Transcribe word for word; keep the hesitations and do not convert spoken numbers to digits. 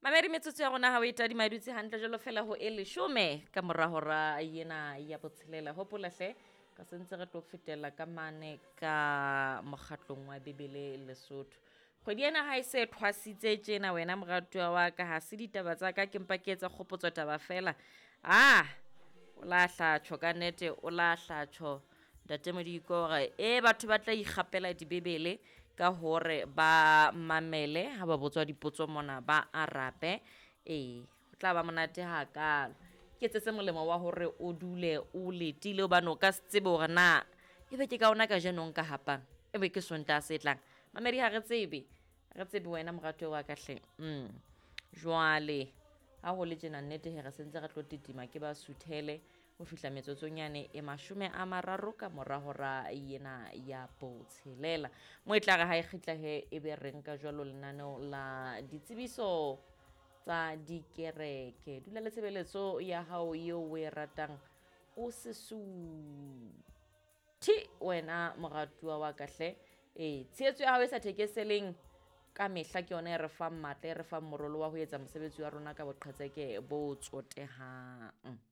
Mamedi, metsotso ya rona ha o e tadima e dutse hantle jwalo fela ho e leshome ka mora hora ena ya botshelela. Hopola hle, re sentse re tlo fetela ka mane ka mokgatlong wa Bebele Lesotho. Kgwedi ena ha e se thwasitse tjena wena moratuwa wa ka, ha se ditaba tsa ka, ke mpa ke etsa kgopotso taba fela. Ah, o lahla tjho ka nnete, o lahla tjho Ntate Modiko hore e batho ba tla ikgapela dibebele ka hore ba mamele ha ba botswa dipotso mona ba arabe. Ee, ho tla ba monate hakalo. Ke etsetse molemo wa hore o dule o letile hobane o ka se tsebe hore na ebe ke ka ona kajeno nka hapang, ebe ke Sontaha se tlang. Mamedi ha re tsebe, ha re tsebe wena moratuwa wa ka hle. Mm. Jwale ha ho le tjena nnete he re sentse re tlo titima ke ba suthele ho fihla metsotsong e mashome a mararo ka mora hora ena ya botshelela. Mo e tla re ha e kgitla he ebe re nka jwalo lenaneo la ditsebiso tsa dikereke. Dula le tshebeletso ya hao eo o e ratang, o se suthe wena moratuwa wa ka hle. Ee, tshehetso ya hao e sa thekeseleng ka mehla ke yona e re fang matla, e re fang morolo wa ho etsa mosebetsi wa rona ka boqhetseke bo tsotehang.